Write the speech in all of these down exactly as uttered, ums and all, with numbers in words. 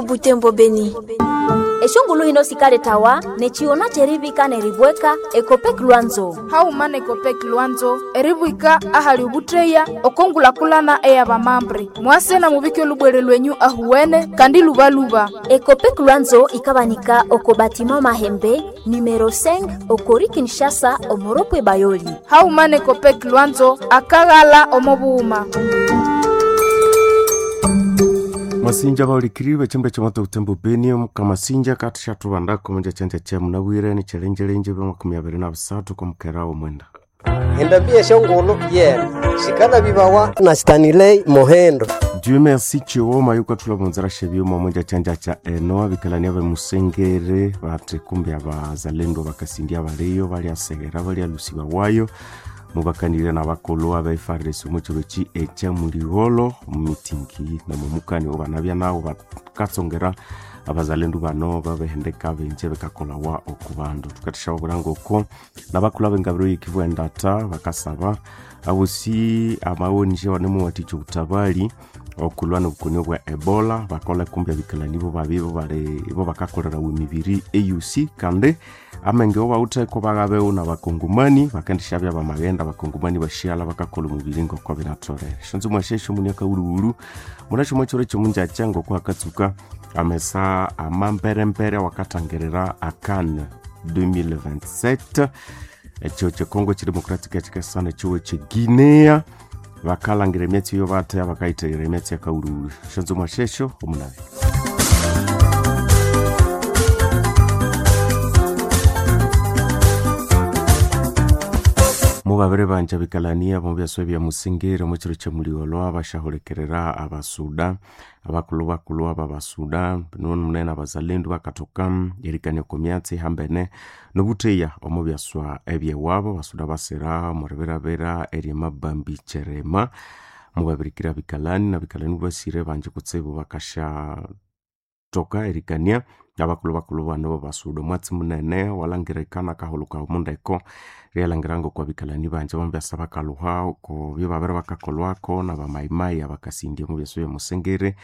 Butembo Beni. Eshongulu hino sikaletawa nechiona cherivika neribweka Ekopek Lwanzo. Hauma nekopek Lwanzo eribwika ahali ubutreya okongulakulana eyabamambre mwase na mubike olubwere lwenyu ahuwene kandi lubaluba. Ekopek Lwanzo ikabanika oko batima Mahembe numero cinq okori Kinshasa omoropwe Bayoli. Hauma nekopek Lwanzo akaghala omobuuma. Masinja baulikiri bechimba chamoto utembo Beni kamasinja katisha tubandako munja chanja cha munabwire ni chelenjelenje bya makumi abiri na busatu kumukera omwenda. Endambi eshongolo yena shikala bibawa na Stanley Mohendo. Dieu merci chioma yuko tula munzara shebyuma munja chanja cha eno abikalani abe musengere bate kumbe abazalendo bakasindia baliyo bali asegera bali alusiba wayo mubakanire n'abakolo abaefaresi omu kiro ekya muliholo omumitingi nomumukani obanabya nawo bakatsongera abazalendu bano babehendeka benje bekakolawa oku bandu. Tukathisha obulanga oko n'abakulu ab'engabiro y'ekivu endata bakasaba abosi amawonje banemuwathikya obutabali okulwa n'obukoni obwa Ebola bakola kumbi abikalani bo babi bo bakakolerawa emibiri E U C kandi amenge obawutheko baghabewo n'abakongomani bakendishabya bamaghenda abakongomani bashiala bakakola omubiri ngoko binatholere. Shonzo mwashesho muniaka wuluwulu munasho mwachiro ekyomunjakya ngoko akatsuka amesa amamperempere wakatangirira ACAN twenty twenty-seven ekyo kyekongo kidemocratic ekikasana ekyiwo kyeguinea bakalangira emyatsi eyo batya bakayithaghira emyatsi yakawuluwulu. Shonzo mwashesho omunabe. Mubabiri banja bikalania mubyaswa bya musingiri mukiro kyemuliolwa abashahulekerera abasuda abakulu bakulu aba basuda nunu munene abazalendu bakatoka erikania oku myatsi hambene nobutheya omu byaswa ebyewabo basuda basira omuribirabira eryemabambi kyerema mubabirikira bikalani nabikalani basire banji kutsibu bakasha toka erikania abakulu bakulu bano basuda omwatsi munene walangirikana akahuluka omundeko ryalangira ngoko abikalani banje bambyasa bakaluha oko byebabiri bakakolwako nabamayimayi abakasindya omu byaswa byemusengere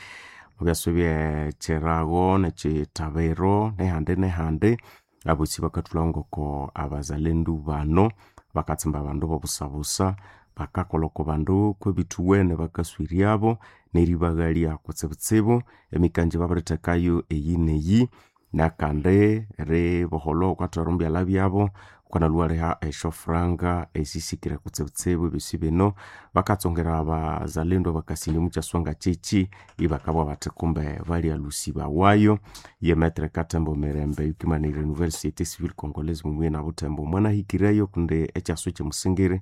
mu byaswa byekyirago nekyitabiro nehandi nehandi abosi bakathulha ngoko abazalendu bano bakatsimba abandu bobusabusa bakakolha oko bandu kwebithuwene bakaswiryabo neribaghalya kutsibutsibu emikanji babirithekayo eyi neyi nakandi riboholwa wukathwara omubyalha byabo wukanalhuwaliha esyofuranga esisikire kutsibutsibu ebyosi bino bakatsongera abazalendu abakasindya omukyaswa ngakyekyi ibakabugha bathi kumbe balyalusibawayo. Ye Maître Katembo Mirembe yukimanire Nouvelle Société Civile Congolaise mumuye na Butembo mwanahikireyo kundi ekyaswa ekyemusingiri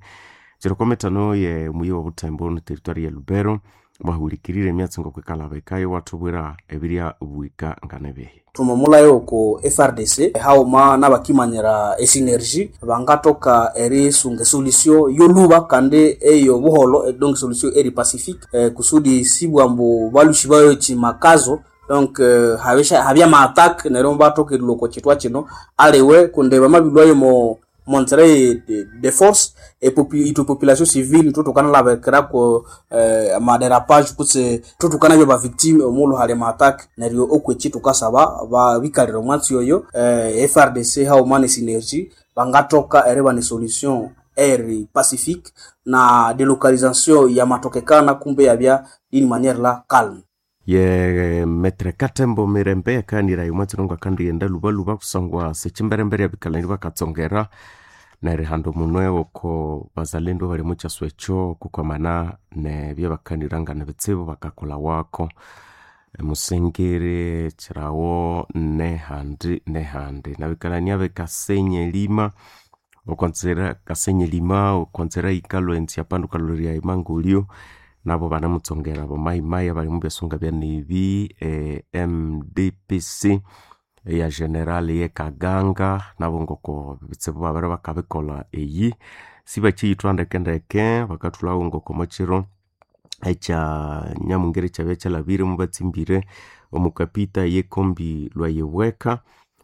kiriko mitano ye muyi wa Butembo ne territoire ya Lubero mwahulikirire emyatsi ngokwikalabekayo wathubwira ebirya bwika nganebihi. Tumomulayo oko F R D C hauma n'abakimanyira esinergie bangatoka erisunga esolution yoluba kandi eyo buholo donc solution eri pacifique eh, kusudi sibwambu balushi bayo chimakazo donc eh, habisha habya ma attack neryo batoka eriloko chitwa chino aliwe kunde bamabilwayo mo montre de, de force et popu, itu population civile tutokana labekera ko eh, ma dérapage kutse tutokana bya ba victime omulu hali ma attack neryo okwechi tukasaba ba bikalira omwatsi oyo eh, F R D C hao mane synergie bangatoka ereba ni solution eri pacifique na délocalisation ya matokekana kumbe yabya d'une manière la calme. Ye Maître Katembo Mirembe yakanira omwatsi nongo akandighenda lubaluba kusangwa sekimberembere abikalani bakatsongera nerihanda omunwe oko bazalendu abali omukyaswa ekyo kukwamana nebyabakanira bitsibu bakakolha wako musengere kyirawo nehandi nehandi nabikalani abekasenye lima okonzera kasenye lima okonzera ikalwa ensi apandu kalolerya emangulyo nabo banamutsongera abamayimayi abali mubyasunga byanebi eh, M D P C ya general ye Kaganga nabo ngoko bitsibu babiri bakabikolha eyi sibakyiyithwa ndekendeke bakathulhawo ngoko omukiro ekya nyamungere kyabya kyalhabire mubatsimbire omukapita yekombi lwayibweka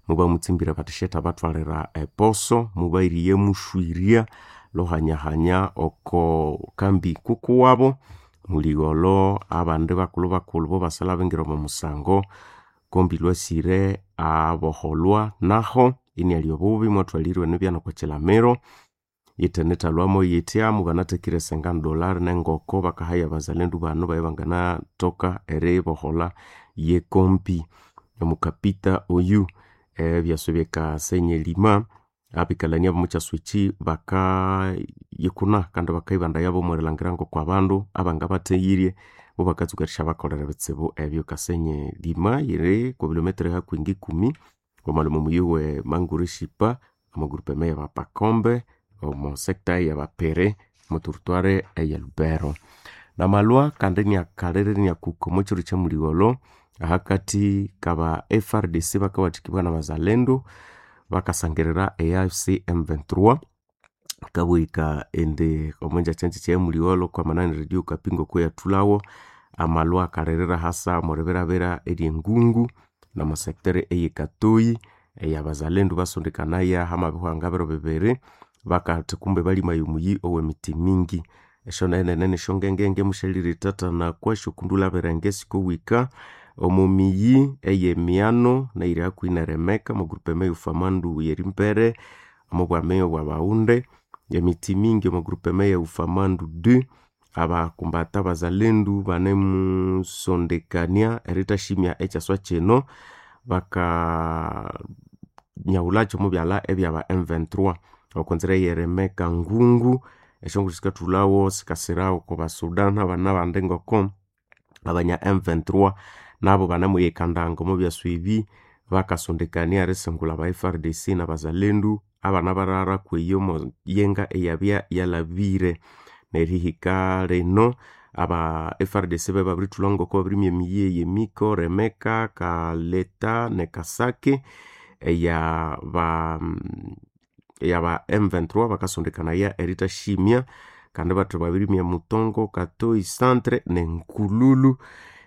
mubamutsimbire bathi shetha bathwalira eposo mubairiye mushwirya lohanyahanya oko kambi kukuwabo muligholo abandi bakulhu bakulhu bo basalha bingira omo musango Kombi lwasire aboholwa naho iniali obubi mwathwalirwe nibyana okwa kilamiro yithenethalwamo yitya mubanathekire sengani dollar nengoko bakahaya abazalendu bano baye banganathoka eribohola yekompi. Omukapita oyu ebyaswa byekasenyi elima abikalania bomukyaswa ekyi bakayikuna kandi bakayibandaya omwerilhangira ngoko abandu abangabatheghirye mubakatsuka erisyabakolera ebitsibu ebyo. Kasenyi lima yiri okwa bilometre hakuhi ngikumi wamalhwa omo muyi we Mangureshipa omo groupement ya Bapakombe omo sector ya Bapere omo territoire eye Lubero. Namalhwa kandi iniakalire iniakuka omo kiro kyamuligholho ahakathi kaba F R D C bakawathikibwa nabazalendo bakasangirira e A F C M twenty-three kabwika indi omo njakyanjakya eyamuligholho kwamanani radio okapi ngokuyathulhawo amalhwa akalirira hasa omwiribirabira eryengungu nomo sector eyekatoyi eyabazalendo basondekanaya hamabihwanga biro bibiri bakathi kumbe balimaya omuyi owemithi mingi. Esyonene nesyongengenge musyaliritatana kwasyo birenge sikowika omo miyi eyemiano neyiri hakuhi neremeka omo groupement eyufamandu yerimbere omo bwami obwabaghunde emithi mingi omo groupement eyufamandu deux abakumbata abazalendu banemusondekania erithashimya ekyaswa kino bakanyahulhakyo omubyalha ebyaba M twenty-three okonzira eyeremeka ngungu esyongulhu sikathulhawo sikasira oko basuda nabandi ngoko abanya M twenty-three nabo banemuyikandanga omo byaswa ebi bakasondekania erisingulha aba F R D C nabazalendu abana barara kweyo omo yenga eyabya yalhabire. Nerihika lino aba F R D C babirithulha ngoko babirimya emiyi eyemiko, Remeka, Kaleta ne Kasake eya ba eyaba M twenty-three bakasondekanaya erithashimya kandi bathi babirimya Mutongo, Katoyi centre ne Nkululu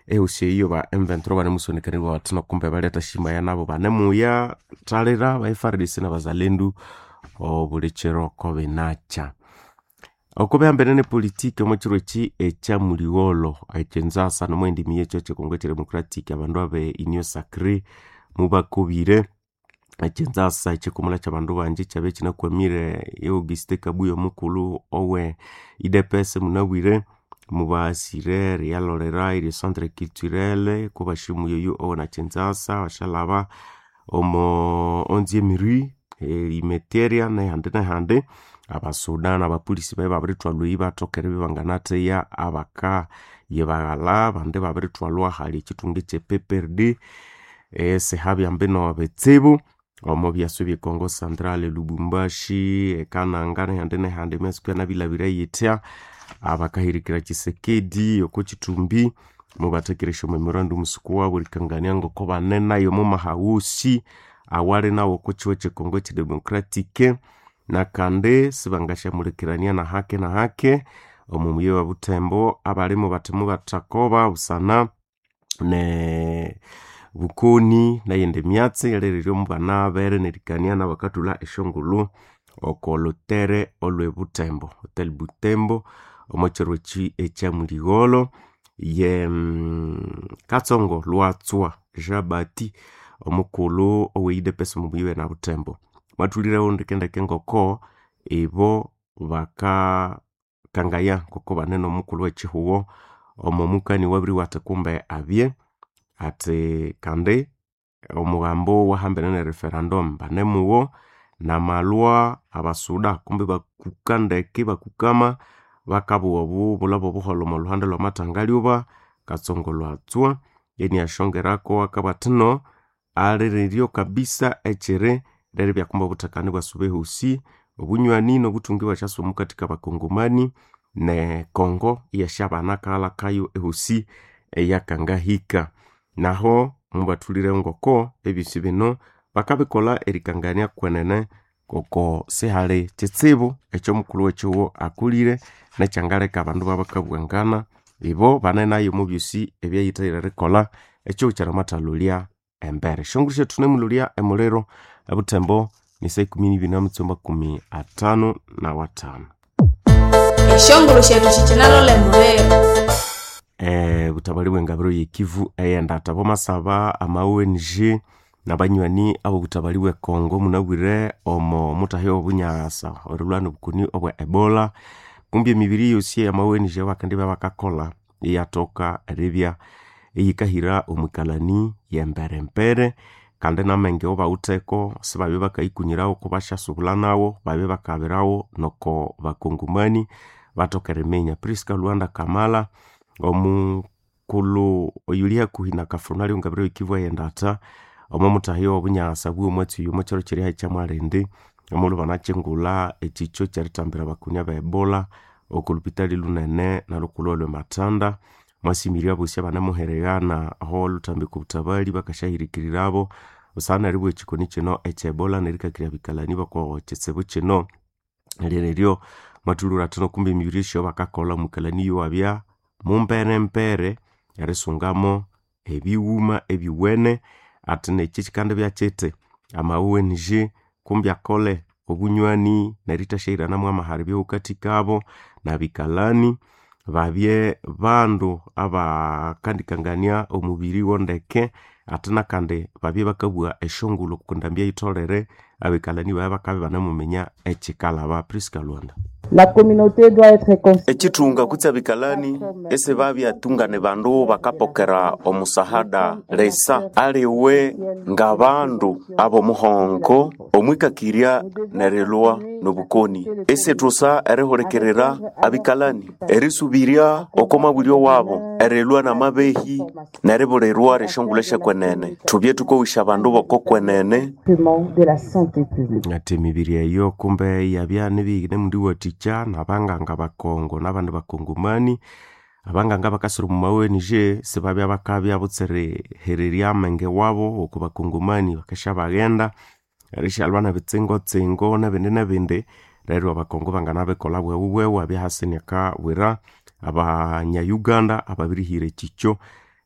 ehosi eyo ba M twenty-three banemusondekanirwa bathi kumbe balyathashimaya nabo banemuya thalira aba F R D C nabazalendu obulikyiro kobinakya. Okubihambene nepolitiki omo kiro eki ekyamuligholho ekinzasa nomwindi miyi ekyo eky'ekongo eky'edemocratic abandu abe Union Sacrée mubakobire ekinzasa ekikumula kyabandu bangi kyabya kinakwamire Auguste Kabuya omukulhu owe U D P S munabwire mubasire eriyalholera eri centre culturel kubashimuya oyu owuna kinzasa bashalhaba omo onzième rue erimeteria nehandi nehandi abasuda nabapolisi babya babirithwalwa eyi bathoka eribya ibanganatheya abaka yibaghalha abandi ibabirithwalwa ahali ekithunga ekye P P R D esihabya mbino bitsibu omo byaswa ebye Congo Central, Lubumbashi, ekananga nehandi nehandi emyatsi kuyanabilhabire yithya abakahirikira Tshisekedi oko kithumbi mubathekere esyo memorandum wabu erikangania ngoko banenayo omo mahaghosi awali nawu oko kihugho ekye Congo eky'edemocratic nakandi sibangasyamulikirania nahake nahake omo muyi wa Butembo abalimu bathi mubathakoba busana ne bukoni neyindi myatsi yalirire mubanabere nerikania nabakathulha esyongulhu oko lhutere olwe Butembo Hotel Butembo omo kiro eki ekyamuligholho ye Katsongo Lwatswa Jean Baptiste omukulhu owe U D P S omo muyi we Butembo mwathulirewo ndekendeke ngoko ibo bakakangaya ngoko bane nomukulhu wekihugho omo mukani wabiriwa athi kumbe abye athi kandi omughambo wahambene ne referendum banemuwo namalhwa abasuda kumbe bakuka ndeke ibakukama bakabugha obubulha bobuholho omo lhuhande lwamathangalyoba Katsongo Lwatswa iniasyongerako akabugha athi no aliriryo kabisa ekyiri lyeribya kumbe obuthekane ibwasuba ehosi obunywani nobuthungi ibwasyasuba omukathi kabakongomani ne Congo iyasyabana akaghalha kayo ehosi eyakangahika. Naho mubathulire ngoko ebyosi bino bakabikolha erikangania kwenene ngoko sihali kitsibu ekyomukulhu wekihugho akolire nekyangaleka abandu ibabakabwangana ibo banenayo omo byosi ebyayithayire erikolha ekihugho kyanamathalholya embere. Esyongulhu syethu thunemulholya emuliro ebuthembo ni saa ikumi nibiri namitsuko makumi athanu nawathanu. Esyongulhu syethu sikyinalolha emuliro. eh, butabali bw'engabiro y'ekivu eyendata bomasaba ama O N G nabanywani abo butabali bwe Congo munabwire omo mutahi obunyasa orilwana obukoni obwa Ebola kumbi emibiri yosi eyama O N G bakandi bakakola iyatoka eribya eyikahira omwikalani yemberempere kandi namenge obawutheko sibabye bakayikunyirawo kubashasubula nawo babye bakabirawo noko bakongomani batoka eriminya. Priska Luanda Kamala omukulhu oyuli hakuhi na Kafronali ongabire y'ekivu eyendata omo mutahi obunyasa bw'omwatsi oyu omo kyaro kyeri kyamwalindi omulhu banakyingulha ekikyo kyeritambira abakoni aba Ebola oko lupitali lunene nalukulhu olwe Matanda mwasimirye abosi abanemuhererana aho olhuthambika obutabali bakasyahiриkirirabo busana neribugha ekikoni kino ekye Ebola nerikakirya abikalani boko kitsibu kino lyereryo mwathulhura athino kumbe emibiri esyo bakakolha omukalani yowabya mumberempere erisungamo ebighuma ebiwene athi nekyi kikandibya kyithi ama O N G kumbi akole obunywani nerithasyahiranamu amahara ebyawukathikabo nabikalani babye bandu abakandikangania omubiri wondeke athi nakandi babye bakabugha esyongulho okwa ndambi eyitholere abikalani babya bakabya ibanamuminya ekyikalaba. Priska Lwanda. La communauté doit être Ekithunga kutse abikalani esibabyatungane bandu bakapokera omusahada lesa aliwe ngabandu abomuhongo omwikakirya nerilwa nobukoni esithusa erihulikirira abikalani erisubirya oko mabulyo wabo erilwa namabehi neribulirwa ryesyongulho esyakwenene thubye thukowisya abandu bokokwenene de la santé publique. Ati emibiri eyo kumbe yabya nibinemundiwathikya nabanganga bakongo nabandi bakongomani abanganga bakasira omu ma O N G sibabya bakabya butsirihererya amenge wabo oku bakongomani bakasyabaghenda erishalwa nebitsingo-tsingo nebindi nebindi neryo abakongo banganabikolha bwewu bwewu abya hasi inakabwira abanya-Uganda ababirihira ekikyo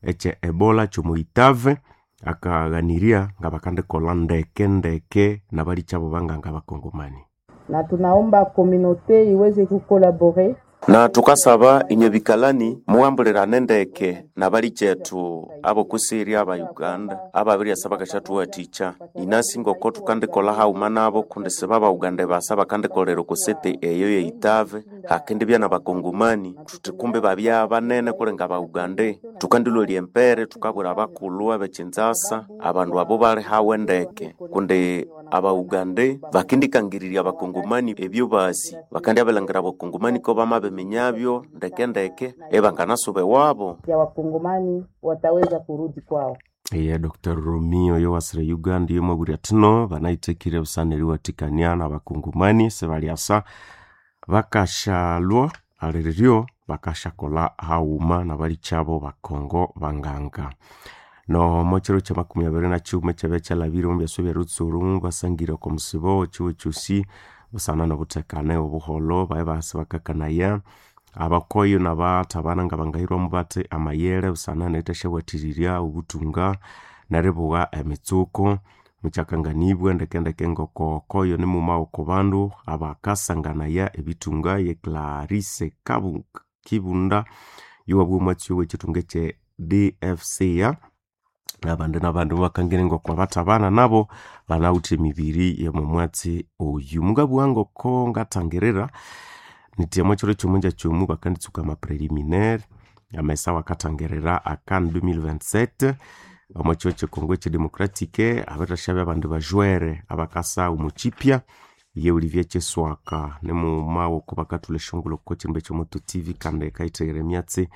ekye Ebola kyomuitave akaghanirya ngabakandikolha ndeke ndeke nabalikyabo banganga bakongomani. Na tunaomba communauté iweze kucollaborer na thukasaba inywe bikalani mughambulirane ndeke nabalikyethu abokusirya aba Uganda ababiryasa bakashathuwathikya inasi ngoko thukandikolha haghuma nabo kundi siba ba Uganda basa bakandikolera okusete eyo yeitave hakindibya nabakongomani thuthi kumbi babya banene kulinga ba Uganda thukandilolya embere thukabwira abakulhu abekinzasa abandu abo bali hawe ndeke kundi aba Uganda bakindikangirirya abakongomani ebyo basi bakandyabilangira abakongomani ko bamabiminyabyo ndeke ndeke ebanganasuba ewabo ya wakongomani wataweza kurudi kwao. Eye Dr Romeo yowasira Uganda yomwabwira athino banayithekire busana eriwathikania nabakongomani sibalyasa bakashalwa aliryo bakashakolha haghuma nabalikyabo bakongo banganga. Nomo kyiro kya makumi abiri na kighuma ekyabya kyalhabire omu byaswa ebya basangire oko musibo ekihugho kyosi busana nobuthekane obuholho baye basi bakakanaya abakoyo nabathabana ngabangahirwamu bathi amayere busana nerithasyabwathirirya obuthunga neribugha emitsuko mukyakanganibwa ndekendeke ngoko koyo nimuma oko bandu abakasanganaya ebithunga ye Clarisse Kabu Kibunda yowabugha omwatsi owekithunga ekye D F C A nabandi nabandi mubakangire ngoko abathabana nabo banawithe emibiri yomomwatsi oyu. Mungabugha ngoko ngathangirira nithi omwa kyiro kyomunja kyomu bakanditsuka ama preliminaire amesa wakathangirira a CAN twenty twenty-seven omo kyiro kye Congo ekyedemocratic abirirasyabya abandi bajwere abakasa omukyipya ye Olivier Kyeswaka nimughuma woko bakathulha esyongulho oko kyihimba ekyomoto T V kandi kayitheghere emyatsi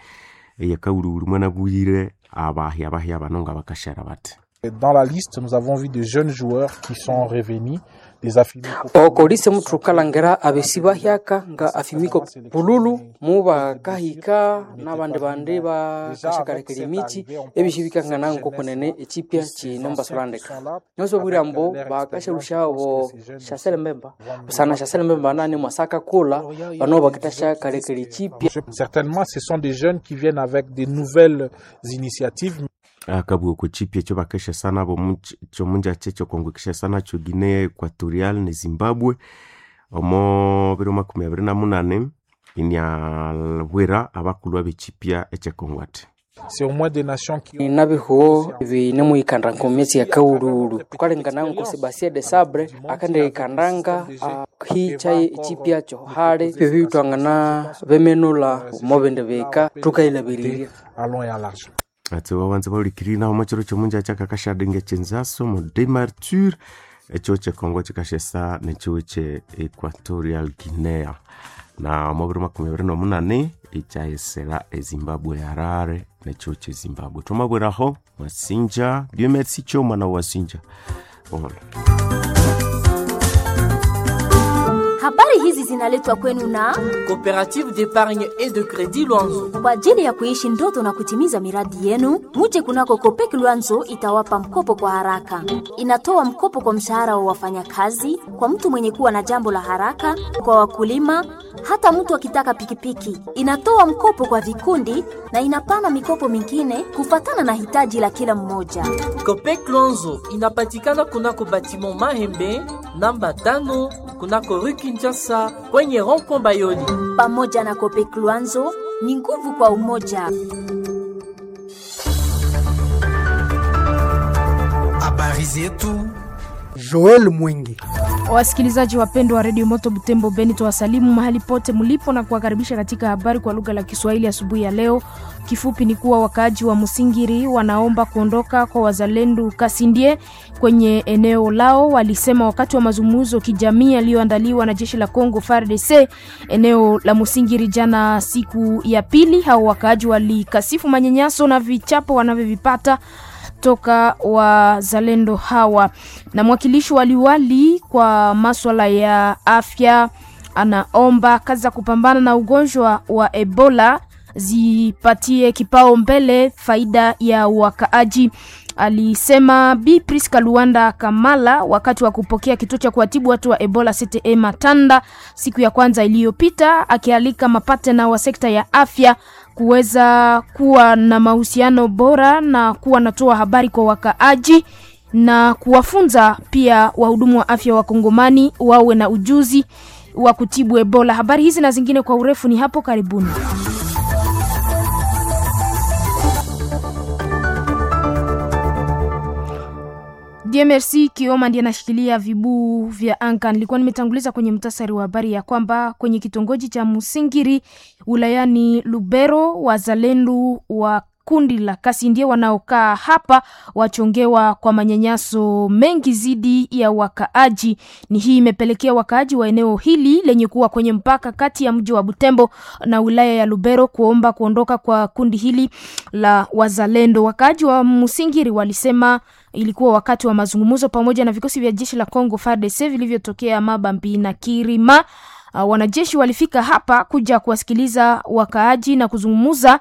eyakawulhiwulhi mwanabuyire abahya bahya bano ngabakasyara bathi. Dans la liste, nous avons vu de jeunes joueurs qui sont revenus, des Afimiko. Okolise muthu kalhangira abesi bahyaka nga Afimiko Pululu mubakahika nabandi bandi bakashakalekera emitsi ebisi bikangana nkokunene ekipya kine mubasulandeka nyoso ambo bakashalushabo Shasele Mbemba busana Shasele Mbemba nani mwasaka kula bano bakitashakalekera ekipya. Certainement, ce sont des jeunes qui viennent avec des nouvelles initiatives. Akabugha okwa kipya ekyo bakeshesa nabo kyomunjakya ekyokongo kishesa nakyo Guinea Equatorial ne Zimbabwe omo biro makumi abiri na munani Iniabwira abakulhu ab'ekipya eky'ekongo ati C'est au moins des nations qui ont nabihuo binemuhikanda nkomyatsi ya kaululu tukalengana nko Sebastien de Sabre akandihikandanga ahicha echipya kyohale bibitwangana bemenula mobindi bika tukailabiriria à long et à large. Atse babanza bahulikirire naho omukiro kyomunja kyakakashadinga ekyenzaso mu demarture ekyo kyekongo kikashesa nekyiwe kye Equatorial Guinea na omu biro makumi abiri nomunani ikyayesera ezimbabwe Harare nekyiwe kye Zimbabwe. Twamabwiraho mwasinja Dieu merci kyo omwana wasinja ohola. Habari hizi zinaletwa kwenu na Coopérative d'épargne et de crédit Luanzo. kwa ajili ya kuishi ndoto na kutimiza miradi yenu. Muje kunako Kopek Luanzo itawapa mkopo kwa haraka. Inatoa mkopo kwa mshahara wa wafanyakazi, kwa mtu mwenye kuwa na jambo la haraka, kwa wakulima, hata mtu akitaka pikipiki. Inatoa mkopo kwa vikundi na inapana mikopo mingine kufatana na hitaji la kila mmoja. Copec Luanzo inapatikana kunako batiment Mahembe namba tano kunako rue Kinshasa kwenye rond-point Bayoli. Pamoja na Kopek Luanzo ni nguvu kwa umoja. Habari zetu Joel Mwingi. Wasikilizaji wapendwa wa redio Moto Butembo Beni, tuwasalimu mahali pote mlipo na kuwakaribisha katika habari kwa lugha la Kiswahili asubuhi ya leo. Kifupi ni kuwa wakaaji wa Musingiri wanaomba kuondoka kwa wazalendo Kasindie kwenye eneo lao. Walisema wakati wa mazungumzo kijamii yaliyoandaliwa na jeshi la Congo F A R D C eneo la Musingiri jana siku ya pili. Hao wakaaji walikasifu manyanyaso na vichapo wanavyovipata toka wazalendo hawa. Na mwakilishi wa liwali kwa maswala ya afya anaomba kazi za kupambana na ugonjwa wa Ebola zipatie kipao mbele faida ya wakaaji, alisema Bi Priska Luanda Kamala wakati wa kupokea kituo cha kuwatibu watu wa Ebola C T E Matanda siku ya kwanza iliyopita, akialika mapatena wa sekta ya afya kuweza kuwa na mahusiano bora na kuwa natoa habari kwa wakaaji na kuwafunza pia wahudumu wa afya wa Kongomani wawe na ujuzi wa kutibu Ebola. Habari hizi na zingine kwa urefu ni hapo karibuni. Dieu merci Kioma ndiye anashikilia vibuu vya anga. Nilikuwa nimetanguliza kwenye mtasari wa habari ya kwamba kwenye kitongoji cha Musingiri wilayani Lubero, wazalendo wa kundi la Kasindie wanaokaa hapa wachongewa kwa manyanyaso mengi zidi ya wakaaji. Ni hii imepelekea wakaaji wa eneo hili lenye kuwa kwenye mpaka kati ya mji wa Butembo na wilaya ya Lubero kuomba kuondoka kwa kundi hili la wazalendo. Wakaaji wa Musingiri walisema ilikuwa wakati wa mazungumzo pamoja na vikosi vya jeshi la Congo F A R D C vilivyotokea Mabambi na Kirima. Uh, wanajeshi walifika hapa kuja kuwasikiliza wakaaji na kuzungumza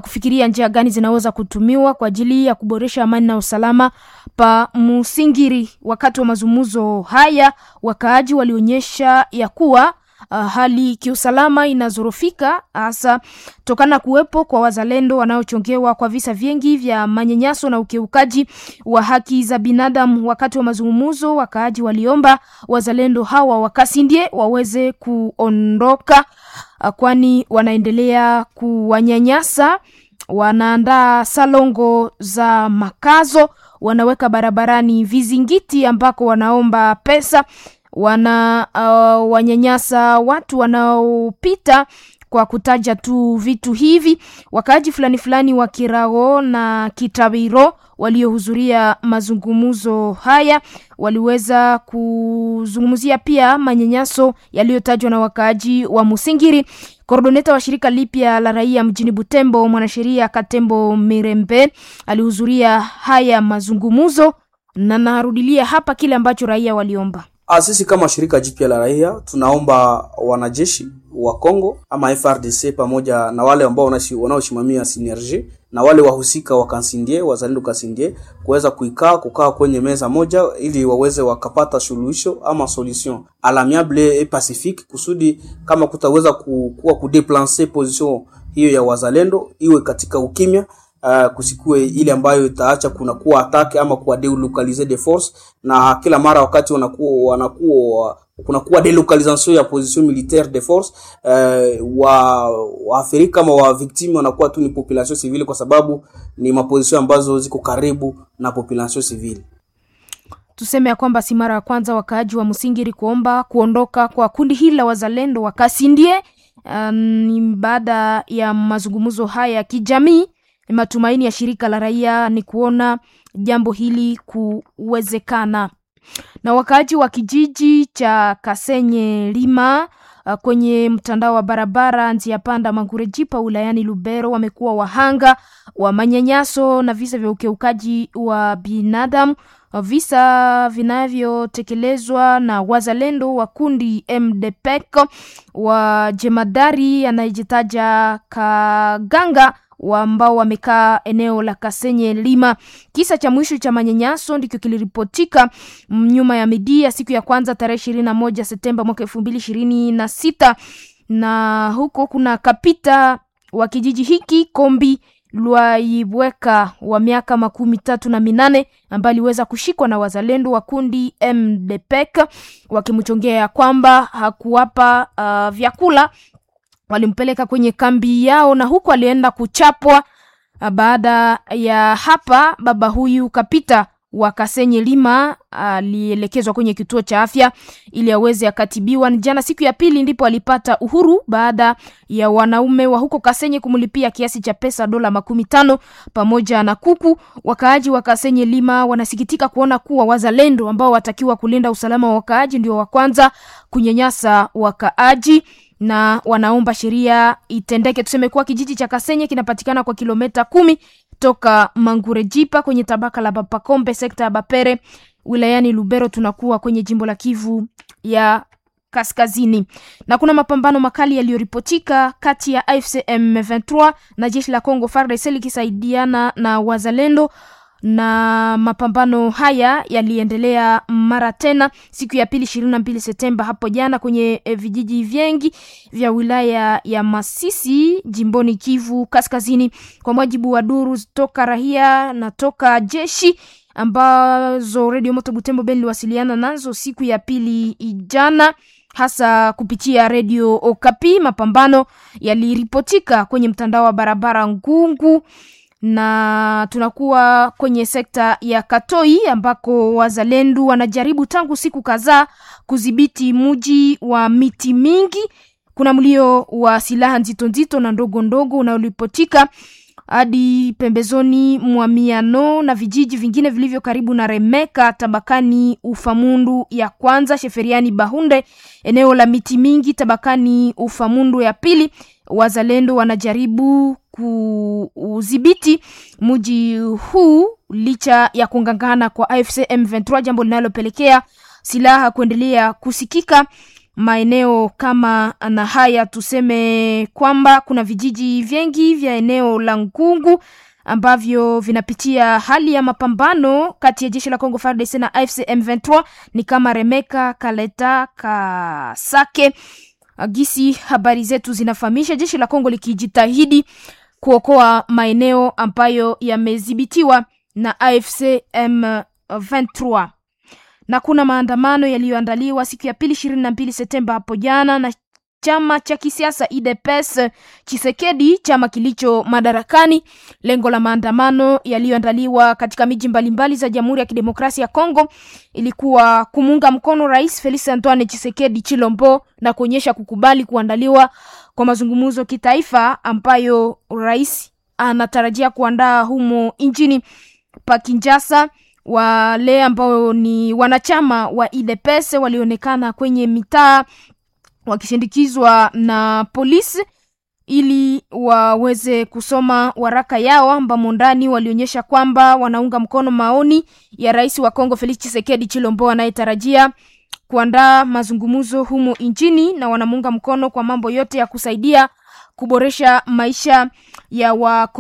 kufikiria njia gani zinaweza kutumiwa kwa ajili ya kuboresha amani na usalama pa Musingiri. Wakati wa mazungumzo haya, wakaaji walionyesha ya kuwa uh, hali kiusalama inazorofika hasa tokana kuwepo kwa wazalendo wanaochongewa kwa visa vingi vya manyanyaso na ukiukaji wa haki za binadamu. Wakati wa mazungumzo, wakaaji waliomba wazalendo hawa wakasindie waweze kuondoka, uh, kwani wanaendelea kuwanyanyasa. Wanaandaa salongo za makazo, wanaweka barabarani vizingiti ambako wanaomba pesa, wana uh, wanyanyasa watu wanaopita kwa kutaja tu vitu hivi. Wakaaji fulani fulani wa Kirao na Kitabiro waliohudhuria mazungumzo haya waliweza kuzungumzia pia manyanyaso yaliyotajwa na wakaaji wa Musingiri. Koordoneta wa shirika lipya la raia mjini Butembo, mwanasheria Katembo Mirembe alihudhuria haya mazungumzo na narudilia hapa kile ambacho raia waliomba. Sisi kama shirika jipya la raia tunaomba wanajeshi wa Kongo ama F R D C pamoja na wale ambao wanaosimamia synergie na wale wahusika wa Kansindie, wazalendo Kansindie, kuweza kuikaa kukaa kwenye meza moja ili waweze wakapata suluhisho ama solution à l'amiable et pacifique, kusudi kama kutaweza kuwa kudeplancer position hiyo ya wazalendo iwe katika ukimya. Uh, kusikue ile ambayo itaacha kuna kuwa atake ama kuwa delocaliser des forces, na kila mara wakati wanakuwa wanakuwa Kunakuwa delocalisation ya position militaire de force eh, wa waathirika kama wa victime wanakuwa tu ni population civile, kwa sababu ni maposition ambazo ziko karibu na population civile. Tuseme ya kwamba si mara ya kwanza wakaaji wa Musingiri kuomba kuondoka kwa kundi hili la wazalendo wa Kasindie. Ni um, baada ya mazungumzo haya ya kijamii, matumaini ya shirika la raia ni kuona jambo hili kuwezekana. Na wakaaji wa kijiji cha Kasenye Lima kwenye mtandao wa barabara njia panda Mangurejipa wilayani Lubero wamekuwa wahanga wa manyanyaso na visa vya ukiukaji wa binadamu, visa vinavyotekelezwa na wazalendo wa kundi M D P E C wa jemadari anayejitaja Kaganga ambao wamekaa eneo la Kasenye Lima. Kisa cha mwisho cha manyanyaso ndicho kiliripotika nyuma ya midia siku ya kwanza tarehe ishirini na moja Septemba mwaka elfu mbili ishirini na sita, na huko kuna kapita wa kijiji hiki Kombi Lwaibweka wa miaka makumi tatu na minane ambaye aliweza kushikwa na wazalendo wa kundi M D P E C wakimchongea kwamba hakuwapa uh, vyakula. Walimpeleka kwenye kambi yao na huku alienda kuchapwa. Baada ya hapa, baba huyu kapita wa Kasenye Lima alielekezwa kwenye kituo cha afya ili aweze akatibiwa. Jana siku ya pili ndipo alipata uhuru baada ya wanaume wa huko Kasenye kumlipia kiasi cha pesa dola makumi tano pamoja na kuku. Wakaaji wa Kasenye Lima wanasikitika kuona kuwa wazalendo ambao watakiwa kulinda usalama wa wakaaji ndio wa kwanza kunyanyasa wakaaji na wanaomba sheria itendeke. Tuseme kuwa kijiji cha Kasenye kinapatikana kwa kilomita kumi toka Mangurejipa kwenye tabaka la Bapakombe sekta ya Bapere wilayani Lubero, tunakuwa kwenye jimbo la Kivu ya Kaskazini. Na kuna mapambano makali yaliyoripotika kati ya A F C M vingt-trois na jeshi la Congo F A R D C likisaidiana na wazalendo, na mapambano haya yaliendelea mara tena siku ya pili ishirini na mbili Septemba hapo jana kwenye vijiji vingi vya wilaya ya Masisi jimboni Kivu Kaskazini, kwa mujibu wa duru toka rahia na toka jeshi ambazo Radio Moto Butembo Beni iliwasiliana nazo siku ya pili jana, hasa kupitia Radio Okapi. Mapambano yaliripotika kwenye mtandao wa barabara Ngungu na tunakuwa kwenye sekta ya Katoi ambako wazalendo wanajaribu tangu siku kadhaa kudhibiti mji wa miti mingi. Kuna mlio wa silaha nzito nzito na ndogo ndogo unaolipotika hadi pembezoni mwa Miano na vijiji vingine vilivyo karibu na Remeka tabakani Ufamundu ya kwanza, Sheferiani Bahunde, eneo la miti mingi tabakani Ufamundu ya pili. Wazalendo wanajaribu kuudhibiti mji huu licha ya kungangana kwa A F C M vingt-trois, jambo linalopelekea silaha kuendelea kusikika maeneo kama na haya. Tuseme kwamba kuna vijiji vingi vya eneo la Ngungu ambavyo vinapitia hali ya mapambano kati ya jeshi la Congo F A R D C na A F C M vingt-trois ni kama Remeka, Kaleta, Kasake. Gisi habari zetu zinafahamisha jeshi la Kongo likijitahidi kuokoa maeneo ambayo yamedhibitiwa na A F C M vingt-trois. Na kuna maandamano yaliyoandaliwa siku ya pili ishirini na mbili Septemba hapo jana na chama cha kisiasa U D P S Tshisekedi, chama kilicho madarakani. Lengo la maandamano yaliyoandaliwa katika miji mbalimbali za Jamhuri ya Kidemokrasia ya Kongo ilikuwa kumuunga mkono Rais Felix Antoine Tshisekedi Tshilombo na kuonyesha kukubali kuandaliwa kwa mazungumzo kitaifa ambayo rais anatarajia kuandaa humo nchini pa Kinshasa. Wale ambao ni wanachama wa U D P S walionekana kwenye mitaa wakishindikizwa na polisi ili waweze kusoma waraka yao ambamo ndani walionyesha kwamba wanaunga mkono maoni ya rais wa Kongo Felix Tshisekedi Tshilombo anayetarajia kuandaa mazungumzo humo nchini, na wanamuunga mkono kwa mambo yote ya kusaidia kuboresha maisha ya wa